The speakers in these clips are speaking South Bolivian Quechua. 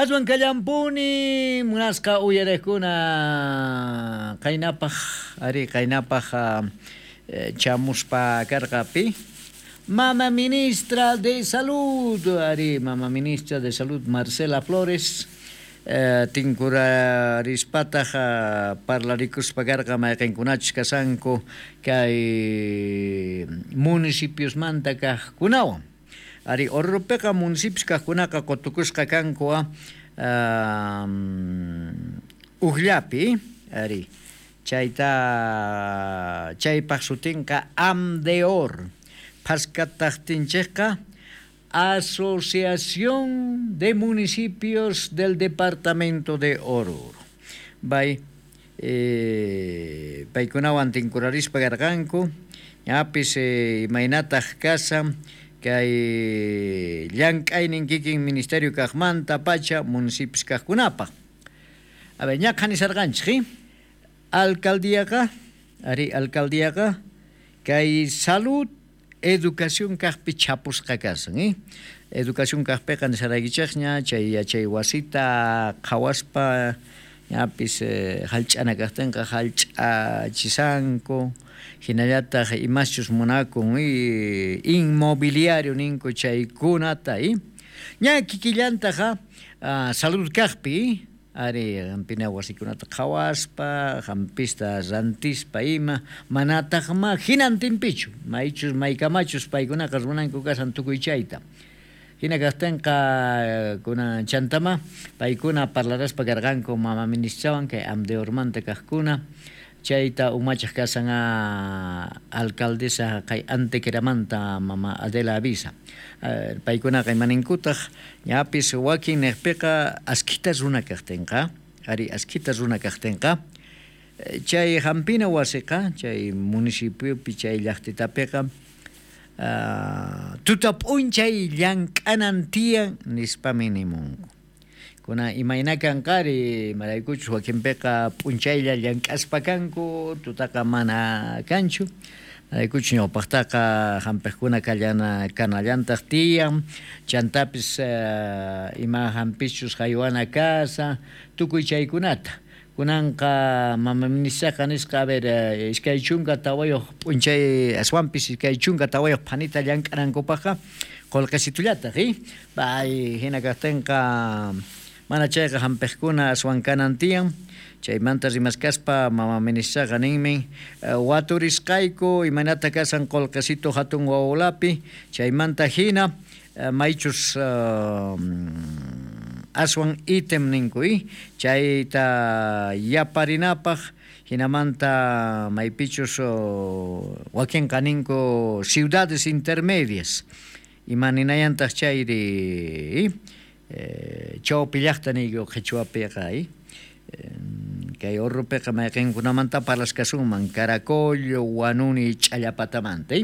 Aswan kallampuni munasqa uyariqkuna qaynapaq ari qaynapaq chamuspa karqa pi Mama Ministra de Salud ari Mama Ministra de Salud Marcela Flores tinkurarispataq parlarikuspa karqa mayqinkunachus kashanku kay municipiosmanta kaqkunawan. Ari Oruropiqa municipios kaqkunaqa qutukusqa kanku ujllapi ari chayta chaypaq sutinqa AMDEOR phaskataqtinchikqa Asociación de Municipios del Departamento de Oruro. Bay paykunawan tinkurarispa karqanku ñapis imaynataq kashan kay llank'aynin kikin ministerio kaqmanta pacha municipios kaqkunapaq. A ver, ña qhanisarqanchik, alcaldíaqa, ari alcaldíaqa kay salud educación kaqpi chapusqa kasan, Educación kaqpiqa nisaraykichikña chay yachay wasita qhawaspa ñapis hallch'ana kaqtinqa hallch'achisanku hinallataq imaschus munakun inmobiliario ninku chaykunata ña kikillantaqa salud kaqpi ari hampina wasikunata qhawaspa hampista rantispa ima manataqma hinantinpichu maychus maykamachus paykunaqa runanku kashan tukuy chayta hina kaqtinqa kunan chantama paykuna parlaraspa karqanku mama ministrawan kay AMDEORmanta kaqkuna chayta umachaq kashan alcaldesa kay Antequeramanta mama Adela Avisa paykunaqa imaninkutaq ñapis wakin niqpiqa askhita runa kaqtinqa ari askhita runa kaqtinqa chay hampina wasiqa chay municipiopi chay llaqtitapiqa tuta p'unchay llank'anan tiyan nispami nimunku. Kuna imayna kanqari imaraykuchus wakinpiqa p'unchaylla llank'aspa kanku tutaqa mana kanchu imaraykuchus ñawpaqtaqa hampiqkuna kallana kanallantaq tiyan chantapis ima hampischus haywana kasa tukuy chaykunata kunanqa mama ministraqa nisqa a ver 24 p'unchay aswanpis 24 phanita llank'anankupaqqa qullqisitullataq pay hina kaqtinqa mana chayqa hampiqkuna aswan kanan tiyan chaymanta rimaskaspa mama ministraqa ninmi waturisqayku imaynata kashan qullqisitu hatun wawlapi chaymanta hina maychus aswan ítem ninku chayta yaparinapaq hinamanta maypichus wakinqa ninku ciudades intermedias imaninayantaq chayri chawpi llaqta niyku qhichwapiqa kay Oruropiqa mayqinkunamanta parlaskasunman Caracollo, Huanuni, Ch'allapatamanta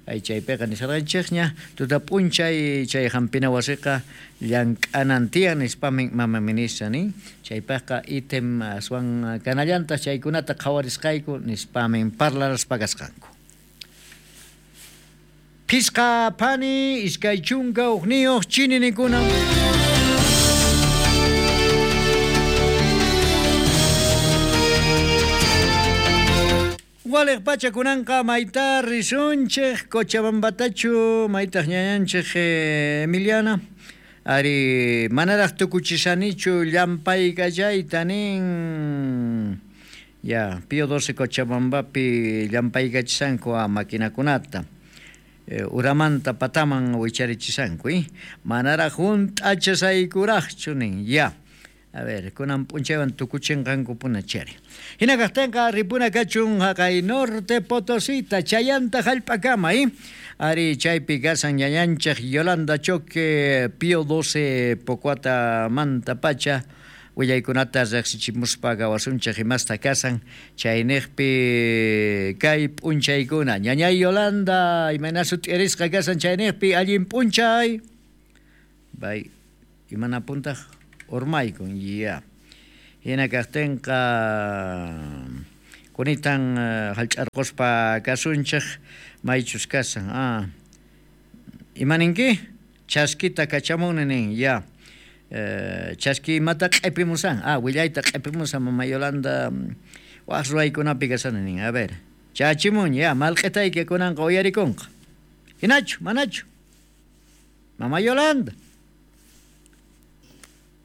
ay chaypiqa nisarqanchikña tuta p'unchay chay hampina wasiqa llank'anan tiyan nispami mama ministra nin chaypaqqa ítem aswan kanallantaq chaykunata qhawarisqayku nispami parlaraspa kasqanku. Phisqa phani 21 chininikuna. Waliq pacha kunanqa mayta risunchik Cochabambatachu maytaq ñañanchik Emiliana ari manaraq tukuchisanichu llampaykachayta nin ya Pío XII Cochabambapi llampaykachisanku a maquinakunata uramanta pataman wicharichishanku manaraq hunt'achasaykuraqchu nin ya. A ver, kunan p'unchaywan tukuchinqankupuna chari. Hina kaqtinqa ripuna kachun haqay Norte Potosita chayanta hallp'akama ari chaypi kasan ñañanchik Yolanda Choque Pío XII Pocuatamanta pacha willaykunata riqsichimuspa gawasunchik imasta kasan chayniqpi kay p'unchaykuna. Ñañay Yolanda imayna sut'irisqa kasan chayniqpi allin p'unchay. Bay imana puntaq urmaykun ya. Hina kaqtinqa kunitan hallch'arquspa kasunchik maychus kasan. Imaninki? Chaskita kachamuni nin ya. Chaski imata q'ipimusan? Ah, willayta q'ipimusan mama Yolanda waj ruwaykunapi kasani nin. A ver, chachimun ya, malq'itayki kunanqa uyarikunqa. Hinachu, manachu? Mama Yolanda.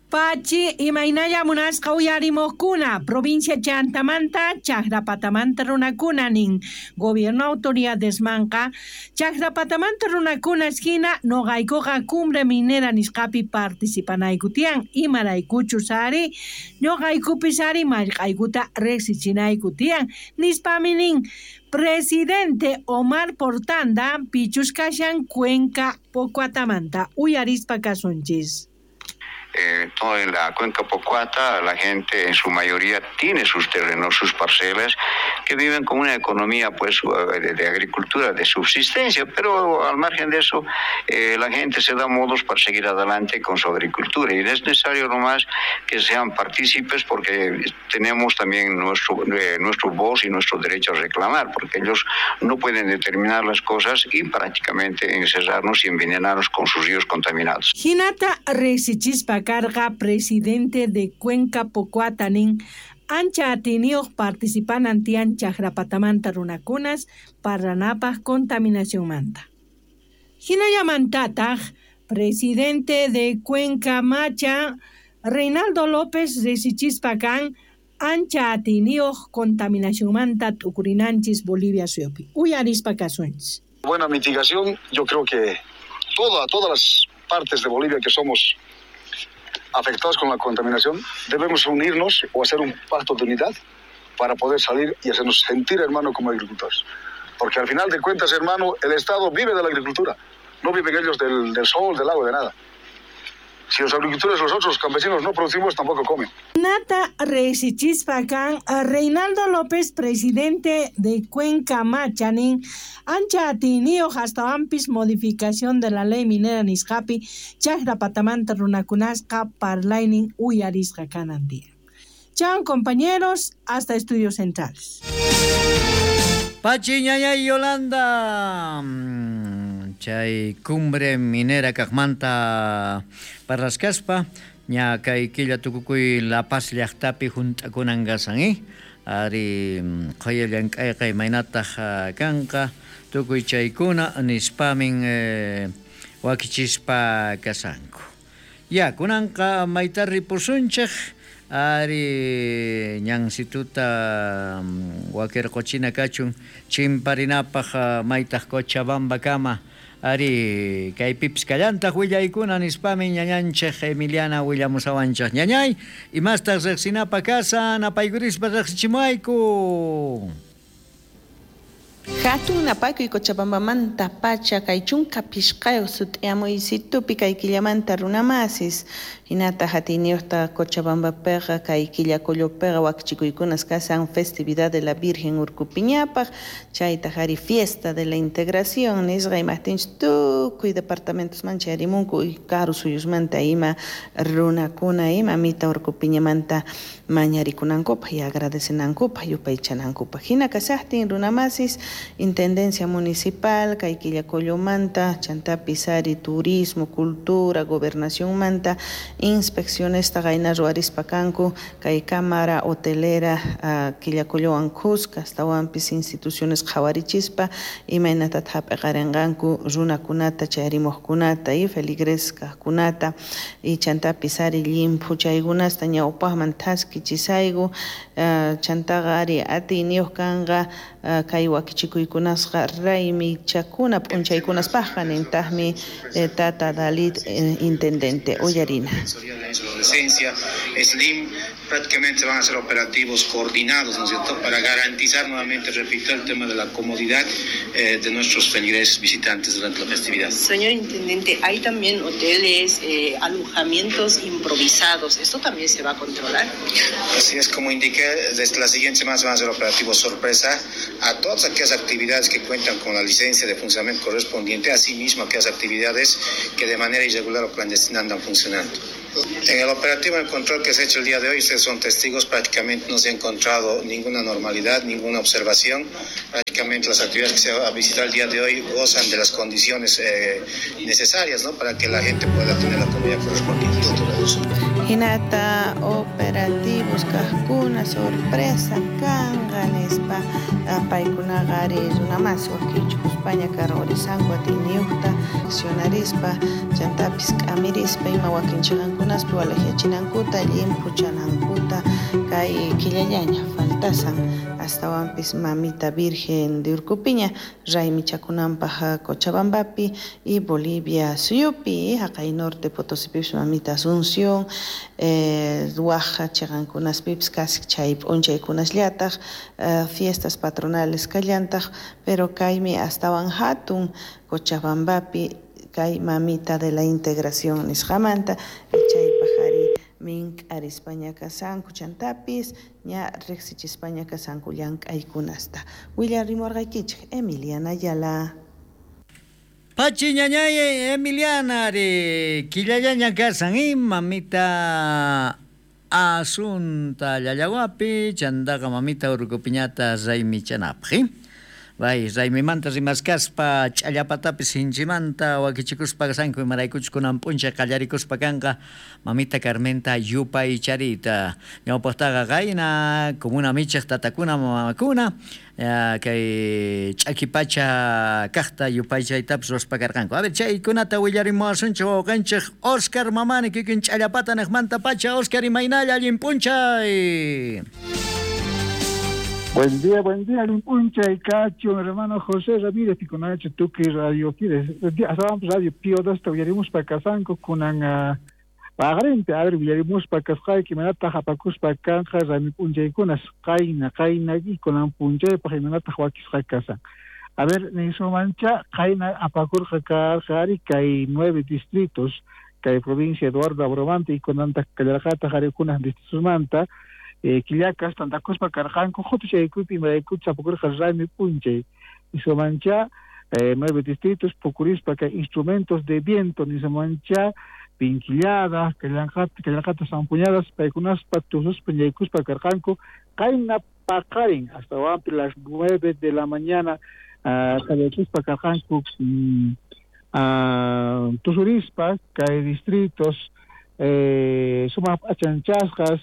Pachi imaynalla munasqa uyarimuqkuna provincia Chantamanta Chaqrapatamanta runakuna nin gobierno autoridadesmanqa Chaqrapatamanta runakunas hina noqaykuqa cumbre minera nisqapi participanayku tiyan imaraykuchus ari ñuqaykupis ari mallq'aykuta riqsichinayku tiyan nispami nin presidente Omar Portanda pichus kashan Cuenca Pocuatamanta uyarispa kasunchis. Toda en la cuenca Pocoata, la gente en su mayoría tiene sus terrenos, sus parcelas, que viven con una economía pues de agricultura, de subsistencia, pero al margen de eso, la gente se da modos para seguir adelante con su agricultura y es necesario nomás que sean partícipes porque tenemos también nuestro voz y nuestro derecho a reclamar, porque ellos no pueden determinar las cosas y prácticamente encerrarnos y envenenarnos con sus ríos contaminados. Hinata riqsichispa karqa presidente de Cuenca Pocoata nin ancha atiniyuq participanan tiyan Chaqrapatamanta runakunas parlanapaq contaminacionmanta. Hinallamantataq presidente de Cuenca Macha Reinaldo López riqsichispa kan ancha atiniyuq contaminacionmanta t'ukurinanchis Bolivia suyupi. Uyarispa kasunchis. Buena mitigación, yo creo que todas las partes de Bolivia que somos afectados con la contaminación, debemos unirnos o hacer un pacto de unidad para poder salir y hacernos sentir, hermano, como agricultores. Porque al final de cuentas, hermano, el Estado vive de la agricultura, no viven ellos del sol, del agua, de nada. Si los agricultores, nosotros, los campesinos, no producimos, tampoco comen. Nata riqsichispa kan Reinaldo López, presidente de Cuenca Macha nin ancha atiniyuq astawanpis modificación de la ley minera nisqapi Chaqrapatamanta runakunasqa parlaynin uyarisqa kanan tiyan. Chao, compañeros, hasta Estudios Centrales. Pachi ñañay Yolanda. Chay cumbre minera kaqmanta parlasqaspa ña kay killa tukukuy La Paz llaqtapi hunt'akunan kasan, Ari qhaya llank'ayqa imaynataq kanqa tukuy chaykuna nispamin wakichispa kasanku. Ya kunanqa mayta ripusunchik ari ñansituta wakirquchina kachun chimparinapaq maytaq Cochabamba kama ari kaypipis kallantaq willaykuna nispami ñañanchik Emiliana willamusawanchik. Ñañay, imastaq riqsinapa kasan apaykurispa riqsichimuayku. Hatun napaykuy Cochabambamanta pacha kay chunka pishqayuq sut'iyamuysitupi kay killamanta runamasis hinataq atiyniyuqta Cochabambapiqa kay Quillacollopiqa wakichikuykunas kasan festividad de la Virgen Urcupiñapaq chaytaq ari fiesta de la integración nisqa imaqtinchus tukuy departamentosman chayarimunku karu suyusmanta ima runakuna ima mita Urcupiñamanta mañarikunankupaq y agradecenankupaq yupaychanankupaq hina kasaqtin runamasis Intendencia Municipal, kay Quillacollomanta, chantapis ari turismo, cultura, gobernacionmanta, inspeccionesta qayna ruwarispa kanku, kay cámara hotelera Quillacollowan kuska, astawanpis instituciones qhawarichispa, imaynatata hap'iqarinqanku runakunata, chayarimuqkunata y feligres kaqkunata, y chantapis ari llimphu chaykunasta ñawpaqman thaskichisayku, chantaqa ari atiyniyuq kanqa kay wakichikuykunasqa raymichakuna p'unchaykunaspaqqa nintaqmi tata Dalit intendente uyarina. Slim prácticamente van a ser operativos coordinados, ¿no es cierto?, para garantizar nuevamente, repito, el tema de la comodidad de nuestros feligreses visitantes durante la festividad. Señor intendente, hay también hoteles, alojamientos improvisados, ¿esto también se va a controlar? Así es, como indiqué, desde la siguiente semana se van a hacer operativos sorpresa a todas aquellas actividades que cuentan con la licencia de funcionamiento correspondiente, asimismo aquellas actividades que de manera irregular o clandestina andan funcionando. En el operativo de control que se ha hecho el día de hoy, ustedes son testigos, prácticamente no se ha encontrado ninguna anormalidad, ninguna observación. Prácticamente las actividades que se va a visitar el día de hoy gozan de las condiciones necesarias, ¿no?, para que la gente pueda tener la comida correspondiente. Hinata operativos kajkuna sorpresa kanqa nispa paykunaqa ari runamas wakichukuspaña karqurisanku atiyniyuqta accionarispa chantapis k'amirispa ima wakin chiqankunaspi walaqyachinankuta llimphuchanankuta kay killallaña faltasan astawanpis mamita Virgen de Urcupiña raymichakunanpaq Cochabambapi y Bolivia suyupi haqay norte Potosipipis mamita Asunción waj chiqankunaspipis casi chay p'unchaykunasllataj fiestas patronales kallantaj pero kaymi astawan hatun Cochabambapi kay mamita de la integración nisqamanta chaypaq ari mink'arispaña kasanku chantapis ña riqsichispaña kasanku llank'aykunasta willarimurqaykichik Emiliana Ayala. Pachi ñañay Emiliana ari killallaña kasan mamita Asunta llallawapi chantaqa mamita Urcupiñata raymichanapaq. Bay, raymimanta rimaskaspa ch'allapatapis sinchimanta wakichikuspa kasanku imaraykuchus kunan p'unchay qallarikuspa kanqa mamita Carmenta yupaycharita ñawpaqtaqa qayna comuna michaq tatakuna mamakuna kay ch'akipacha kaqta yupaychaytapis ruwaspa karqanku. A ver, chaykunata willarimuwasunchik wawqanchik Oscar Mamani kikin ch'allapata niqmanta pacha. Oscar, imaynalla allin p'unchay. Buen día, Limpuncha y Cacho, hermano José Ramírez, Piconacho, Tuki, Radio Pires, Radio Pío, dos, Villaremos pa Casanco, Kunan, Pagarente, a ver, Villaremos pa Cascay, Kimanata, Japacus, pa Canja, Ramipuncha y Kunas, Kaina, Kaina, y Kunan Puncha, pa Jimenata, Joaquis, Jacasa. A ver, Mancha, Kaina, Apacur, Jacar, Jari, hay 9 distritos, que provincia Eduardo Abromante, y Kunanta, Callarjata, Jaricunas, distritos Manta, Quillacas, Tantacospa, Carjanco, Jotuchaycupi, Maraycucha, Pocurja, Raymi, Punchay, Isomancha, 9 distritos, Pocurispa, instrumentos de viento, Nisomancha, Pinquillada, Callanjata, Zampuñadas, Paicunaspa, Tuzuspa, Ñaycuspa, Carjanco, Kaina, Pacarin, hasta las 9 de la mañana, Callanjuspa, Carjanco, Tuzurispa, que distritos, Suma, Achanchascas,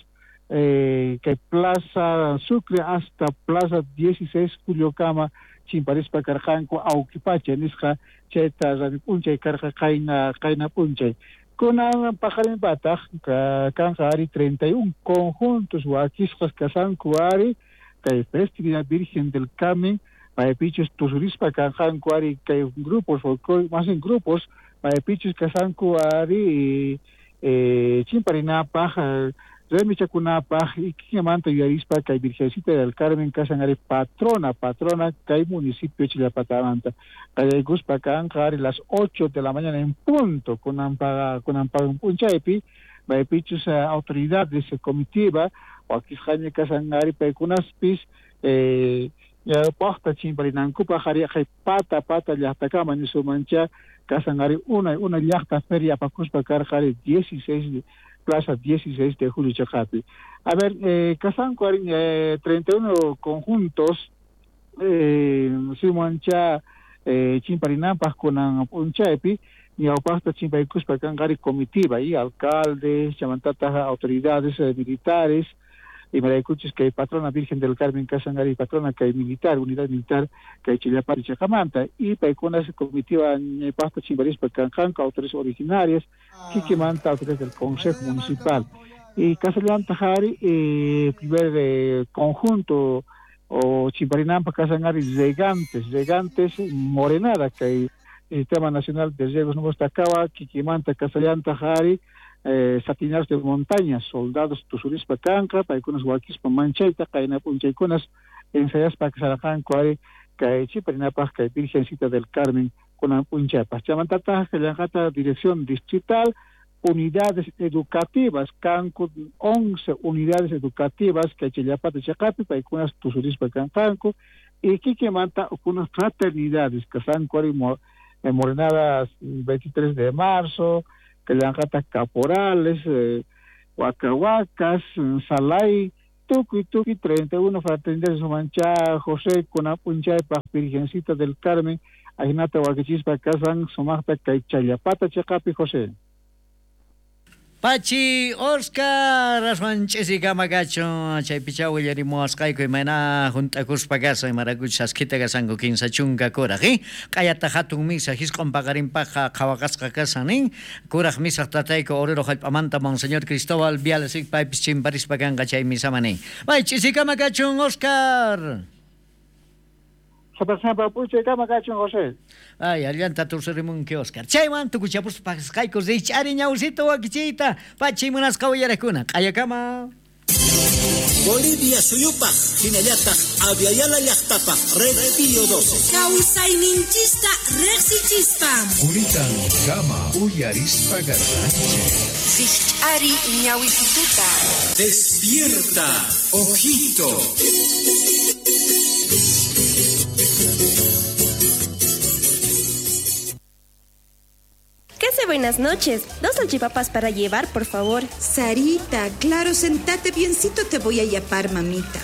que Plaza Sucre hasta Plaza 16 Culiocama, Chimparispa Carjanco, Auquipacha, Nisja, Cheta, Ramipunchay, Carja, Kaina, Kaina Punchay. Kunan Pajarin Bataj, Kanja Ari, 31 conjuntos, Huaquisjas, Casanco Ari, que Festividad Virgen del Carmen, Paepichos, Tuzurispa, Carjanco Ari, que grupos, más en grupos, Paepichos, Casanco Ari, Chimparina, Paja, Remichacunapaj y Quimanta Yuarispa, que Virgencita del Carmen, Casanare, patrona, que municipio Chilapatamanta. Cayaycuspa, Canjari, las 8 de la mañana en punto, con Ampago Punchaypi, Baepichus autoridades comitiva, Huaquisjaña, Casanari, Paicunaspis, Pojta, Chimparinancupa, Jariajay, Pata, Pata, Yactacama, Nisumancha, Casanari, una llajta feria, Pacuspa, Carjari, 16 Plaza 16 de Julio Chacapi. A ver, Casanco, 31 conjuntos, Simoncha, Chimparinampas, con Punchaypi, Ñaupasta, Chimpaycuspa, Cangari, comitiva, y alcaldes, chamantatas, autoridades militares, y Maracuchis, que hay patrona Virgen del Carmen Casangari, patrona que hay militar, unidad militar, que hay Chillapar y Chacamanta, y Paicunas, comitiva, Ñaupasta, Chimparispa, Canjanco, autores originarias, Quiquimanta, autores del Consejo Municipal. Y Casallán Tajari, primer conjunto, o Chimparinampa, Casangari, Regantes, Morenada, que hay Sistema Nacional de Riegos Nuevos Tacaba, Quiquimanta, Casallán Tajari, satinados de montaña, soldados tusurispa canca, paykunas wakispa manchayta, qayna p'unchaykunas ensayaspa kasarqanku ari kay Chiparinapaj kay Virgencita del Carmen kunan p'unchaypaj. Chamantataq kallanqata dirección distrital, unidades educativas, kanku 11 unidades educativas kay Chillapata chaqapi, paykunas tusurispa kanqanku, y kikimanta ukunas fraternidades, kasanku ari Morenadas 23 de marzo, Kallanqataq Caporales, Huacahuacas, Salay, tukuy tukuy 31 fraternidades sumancha José kunan p'unchaypaq Virgencita del Carmen ajinata wakichispa kasan sumaqta kay Challapata chiqapi, José. Pachi Oscar aswan ch'isikama kachun chaypichá willarimuwasqayku imayna hunt'akuspa kasan imaraykuchus askhita kasanku 30 kuraq q'ayata hatun misa hisq'un paqarinpaqqa qhawaqasqa kasan nin kuraq misaq tatayku Oruro hallp'amanta Monseñor Cristóbal Viales paypis chimparispa kanqa chay misaman nin. May ch'isikama kachun Oscar. Sapa p'unchaykama kachun, José. Ay, allanta tusurimunki, Oscar. Chaywan tukuchapuspa pasqayku rich'ari ñawsita wakichiyta pachi munasqa uyarakuna. Q'ayakama. Bolivia suyupaj, hinallataq Abya Yala llaqtapaj, Red Pío 12. Kawsayninchista riqsichispa. Quritan kama uyarispa garranchik. Rich'ari ñawisituta. Despierta, ojito. ¿Qué hace? Buenas noches. 2 salchipapas para llevar, por favor. Sarita, claro, sentate biencito, te voy a yapar, mamita.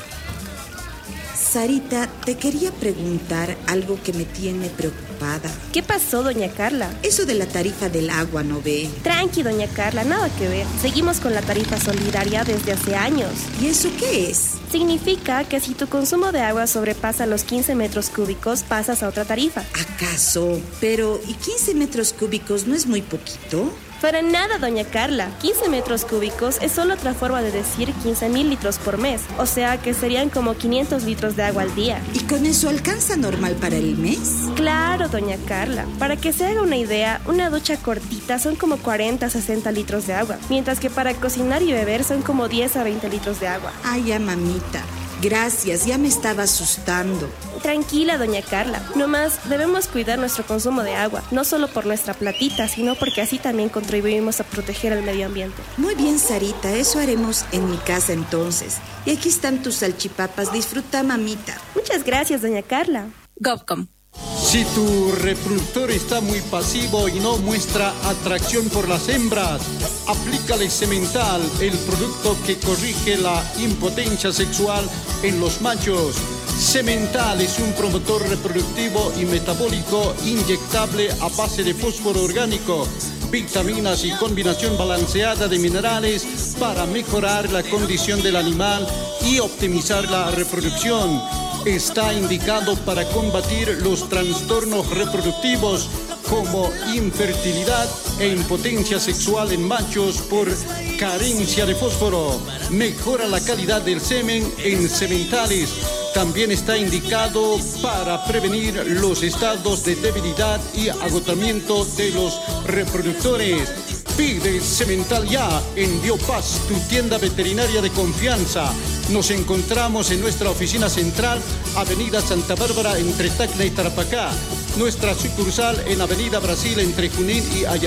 Sarita, te quería preguntar algo que me tiene preocupada. ¿Qué pasó, doña Carla? Eso de la tarifa del agua, ¿no ve? Tranqui, doña Carla, nada que ver. Seguimos con la tarifa solidaria desde hace años. ¿Y eso qué es? Significa que si tu consumo de agua sobrepasa los 15 metros cúbicos, pasas a otra tarifa. ¿Acaso? Pero, ¿y 15 metros cúbicos no es muy poquito? Para nada, doña Carla. 15 metros cúbicos es solo otra forma de decir 15.000 litros por mes. O sea que serían como 500 litros de agua al día. ¿Y con eso alcanza normal para el mes? Claro, doña Carla. Para que se haga una idea, una ducha cortita son como 40 a 60 litros de agua. Mientras que para cocinar y beber son como 10 a 20 litros de agua. Ay, ya, mamita. Gracias, ya me estaba asustando. Tranquila, doña Carla. Nomás debemos cuidar nuestro consumo de agua, no solo por nuestra platita, sino porque así también contribuimos a proteger al medio ambiente. Muy bien, Sarita, eso haremos en mi casa entonces. Y aquí están tus salchipapas, disfruta, mamita. Muchas gracias, doña Carla. Govcom. Si tu reproductor está muy pasivo y no muestra atracción por las hembras, aplícale Semental, el producto que corrige la impotencia sexual en los machos. Semental es un promotor reproductivo y metabólico inyectable a base de fósforo orgánico, vitaminas y combinación balanceada de minerales para mejorar la condición del animal y optimizar la reproducción. Está indicado para combatir los trastornos reproductivos como infertilidad e impotencia sexual en machos por carencia de fósforo. Mejora la calidad del semen en sementales. También está indicado para prevenir los estados de debilidad y agotamiento de los reproductores. Pide Semental ya en Biopaz, tu tienda veterinaria de confianza. Nos encontramos en nuestra oficina central, Avenida Santa Bárbara, entre Tacna y Tarapacá. Nuestra sucursal en Avenida Brasil, entre Junín y Ayacucho.